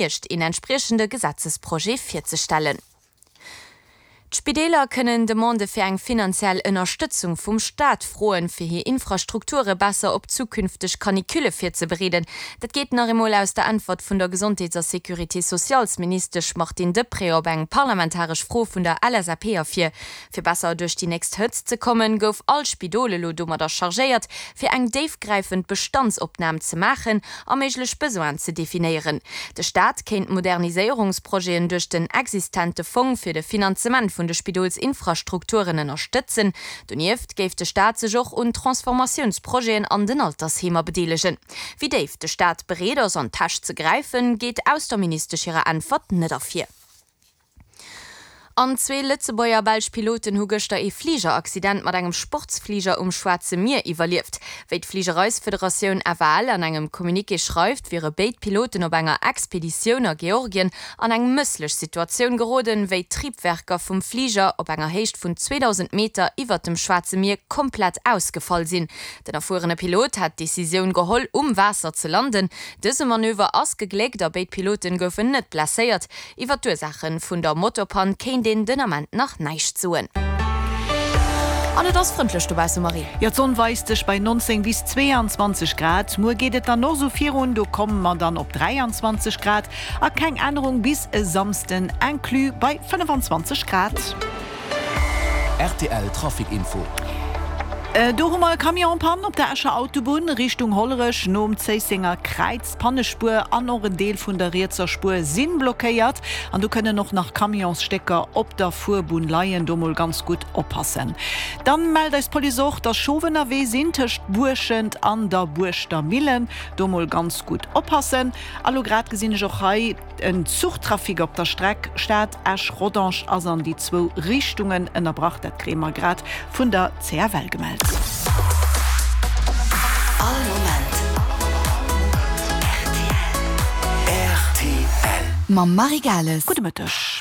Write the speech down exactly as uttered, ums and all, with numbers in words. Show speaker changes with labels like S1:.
S1: Hierscht een entspriechende Gesetzesprojet virzestellen. D'Spideeler kënnen Demandë fir eng finanziell Ënnerstëtzung vum Staat froen, fir hir Infrastrukture besser op zukünfteg Canicule virzebereeden. Dat geet nach eemol aus der Äntwert vun der Gesondheets a Sécurité-sociales-Ministesch Martine Deprez op eng parlamentaresch Fro vun der L S A P ervir. Fir besser duerch déi nächst Hëtzt ze kommen, gouf all Spidol elo domadder chargéiert, fir eng déifgräifend Bestandsopnam ze maachen a méiglech Besoinen ze definéieren. De Staat kéint Moderniséierungsprojeten duerch den existente Fong fir de Finanzement vun de Spidolsinfrastrukturen ënnerstëtzen. Donieft géif de Staat sech och un Transformatiounsprojeten an den Altersheemer bedeelegen. Wéi déif de Staat bereet ass an d'Täsch ze gräifen, geet aus der Ministesch hirer Äntwert net ervir. An zwee Lëtzebuerger a belsch Piloten hu gëschter ee Fligeraccident mat engem Sportsfliger um Schwaarze Mier iwwerlieft. Wéi d'Fligereisfederatioun F A L an engem Communiqué schreift, wiere béid Piloten op enger Expeditioun a Georgien an eng mësslech Situatioun geroden, wéi d'Triebwerker vum Fliger op enger Héicht vun zweedausend Meter iwwert dem Schwaarze Mier komplett ausgefall sinn. Den erfuerene Pilot hat d'Decisioun geholl, um Waasser ze landen. Dëse Manöver ass gegléckt a béid Pilote goufen net blesséiert. Iwwer d'Ursaache vun der Motorpann kéint een den Ament nach näischt soen. An et ass frëndlech dobausse, Marie.
S2: Jo, d'Sonn weist sech bei neunzéng bis zweeanzwanzeg Grad. Muer geet et dann och sou virun, do komme mer dann op dräianzwanzeg Grad a keng Ännerung bis e Samsden inclus bei fënnefanzwanzeg Grad.
S3: R T L Trafic Info.
S2: Do hu mer e Camion en panne op der Escher Autobunn Richtung Hollerech nom Zéissenger Kräiz. D'Pannespuer an och en Deel vun der rietser Spuer si blockéiert an do kënnen och nach Camionsstécker op der Fuerbunn leien. Do mol ganz gutt oppassen. Dann mellt eis d'Police och, dass Schof ënnerwee sinn tëscht Buerschent an der Buerschter Millen. Do mol ganz gutt oppassen. A lo grad gesinn ech och hei en Zuchtrafic op der Streck Stad Esch Rodange ass an déi zwou Richtungen ënnerbrach. Dat kréie mer grad vun der C F L gemellt.
S4: All Moment R T L.
S5: Mam Marie Gales.
S2: Gudde Mëtteg.